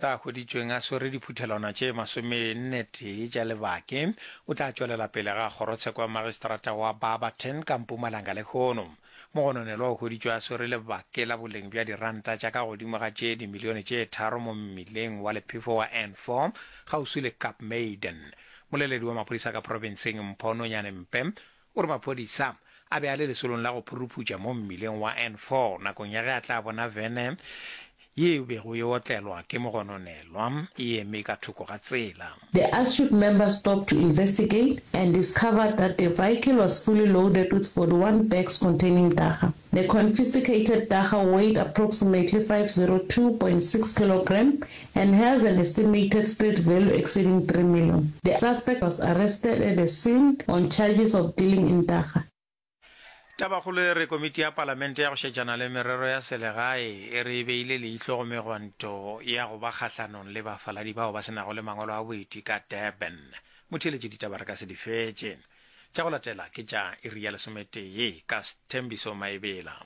A hweditšweng a swere diphuthelwana tše masomennetee tša lebake, o tla tšwelela pele ga kgorotsheko ya magistrata wa Barberton ka Mpumalanga lehono. Mogononelwa o hweditšwe a swere lebake la boleng bja diranta tša ka godimo ga tše dimilione tše tharo mo mmileng wa lephefo wa N4 kgauswi le Kaapmuiden. Moleledi wa maphodisa ka profenseng Mpho Nonyane Mpe o re maphodisa a be a le lesolong la go phuruphutša mo mmileng wa N4 nakong ya ge a tla bona vene ye e bego e otlelwa ke mogononelwa e eme ka thoko ga tsela. The astute member stopped to investigate and discovered that the vehicle was fully loaded with 41 bags containing dagga. The confiscated dagga weighed approximately 502.6 kilogram and has an estimated street value exceeding 3 million. The suspect was arrested at the scene on charges of dealing in dagga. Tabakgolo e re komiti ya palamente ya go šetšana le merero ya selegae e re e beile leihlo go megwanto ya go ba kgahlanong le bafaladi bao ba se nago le mangwalo a boeti ka Durban. Motheeletši ditaba re ka se di fetše. Tša go latela ke tša iri ya lesometee ka Sthembiso Maebela.